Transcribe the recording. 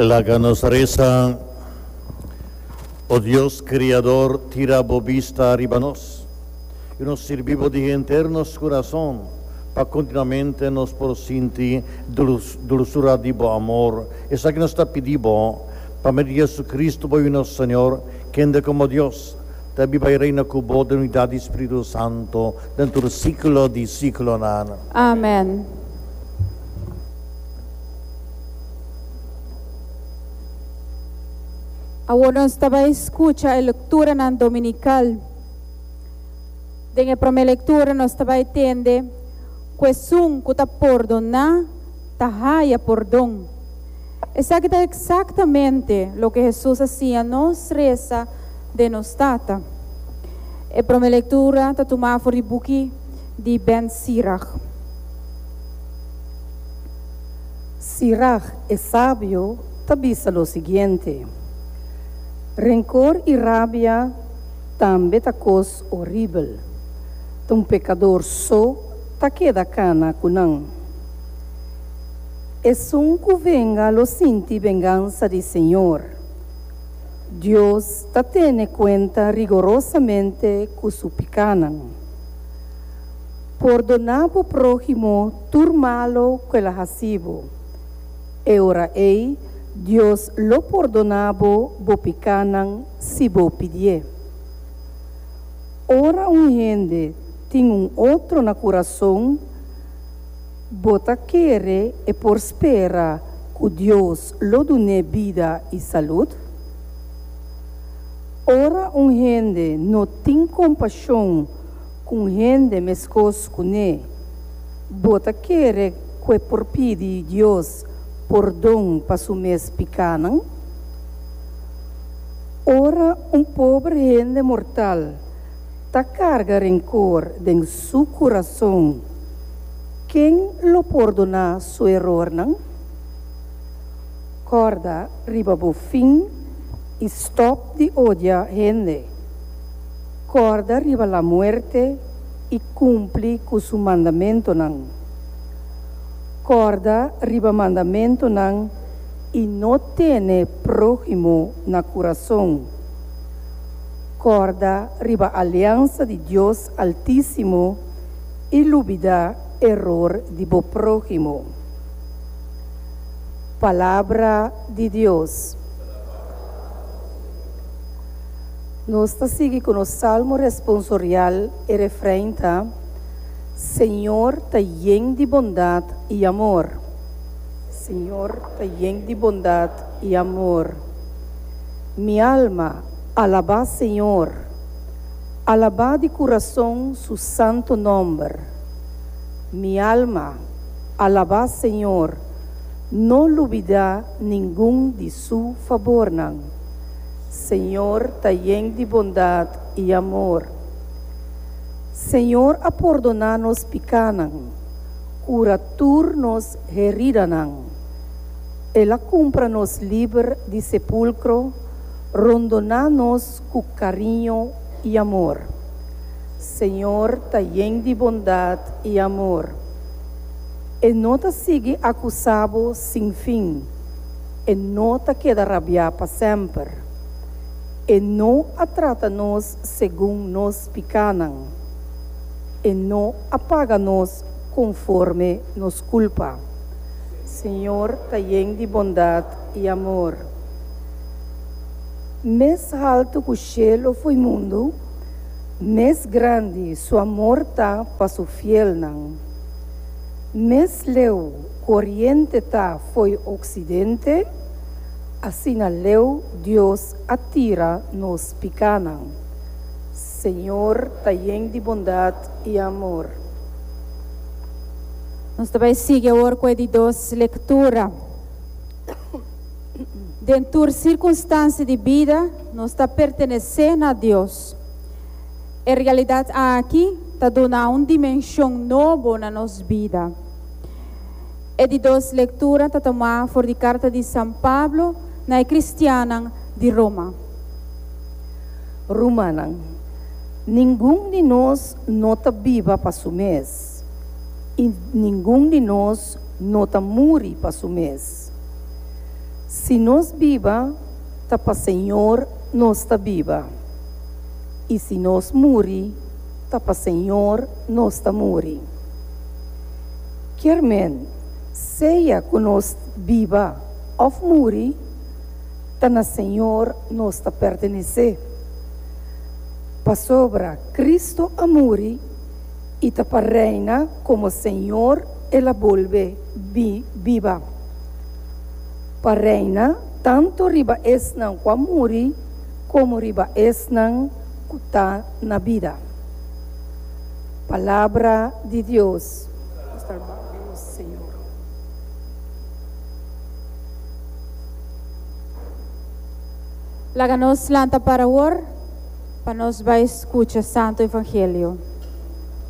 Laga nos resa, O Dios Kriador, tira bo bista riba nos, i nos sirbi bo di henter nos kurason, pa kontinuamente nos por sinti dulsura di bo amor. Esaki nos ta pidi bo, pa medio di Jesucristo bo Yu nos Señor, kende komo Dios ta biba i reina ku bo den unidat di Spiritu Santo den tur siklo di siklonan. Amen. Awor nos ta bai skucha e lekturanan dominikal. Den e promé lektura nos ta bai tende ku esun ku ta pordoná ta haya pordon. Esaki ta eksaktamente loke Hesus a siña nos resa den nos Tata. E promé lektura ta tumá for di buki di Ben Sirach. Sirach e sabio ta bisa lo siguiente, Rencor i rabia tambe ta cos horibel, ta un pecador so ta keda cana cu nan. Esun cu venga lo sinti vengansa di Señor. Dios ta tene cuenta rigorosamente cu su picanan. Pordoná bo próhimo tur malo ku el a hasi bo. E ora ei Dios lo pordoná bo bo pikánan si bo pidié. Ora un hende tin un otro na kurason, bo ta kere e por spera ku Dios lo dun'é bida i salud? Ora un hende no tin kompashon Ku un hende meskos ku ne, bo ta kere ku e por pidi Dios pordon pa su mes pikánan? Ora un pober hende mortal ta karga renkor den su kurason, ken lo pordoná su erornan? Kòrda riba bo fin i stòp di odia hende. Kòrda riba la muerte i kumpli ku su mandamentonan. Kòrda riba mandamentonan i no tene próhimo na kurason. Kòrda riba aliansa di Dios Altísimo i lubidá eror di bo próhimo. Palabra di Dios. Nos ta sigui ku nos salmo responsorial, e refrein ta, Señor ta yen di bondat i amor. Señor ta yen di bondat i amor. Mi alma, alabá Señor. Alabá di kurason su santu nòmber. Mi alma, alabá Señor, no lubidá ningun di su fabornan. Señor ta yen di bondad i amor. Señor a pordoná nos pikánan, kura tur nos heridanan. El a kumpra nos liber di sepulkro, rondoná nos ku kariño i amor. Señor ta yen di bondad i amor. E no ta sigui akusá bo sin fin. E no ta keda rabiá pa semper. E no a trata nos segun nos pikánan. E no a paga nos konforme nos kulpa. Señor ta yen di bondat i amor. Mes haltu ku shelu fo'i mundu, mes grandi su amor ta pa su fielnan. Mes leu ku oriente ta fo'i oksidente, asina leu Dios a tira nos pikánan. Señor ta yen di bondat i amor. Nos ta bai sigui awor ku e di dos lektura. Den tur sirkunstansia di bida nos ta pertenesé na Dios. E realidat aki ta duna un dimenshon nobo na nos bida. E di dos lektura ta tomá for di karta di San Pablo na e kristiannan di Roma. Rumannan, ningun di nos no ta biba pa su mes, i ningun di nos no ta muri pa su mes. Si nos biba, ta pa Señor nos ta biba, i si nos muri, ta pa Señor nos ta muri. Kier men, sea ku nos biba òf muri, ta na Señor nos ta pertenesé. Pasobra Cristo a muri i ta pa reina komo Señor el a bolbe biba. Pa reina tantu riba esnan ku a muri komo riba esnan ku ta na bida. Palabra di Dios. Nos ta alabá bo, Señor. Laga nos lanta para awor pa nos bai skucha Santo Evangelio.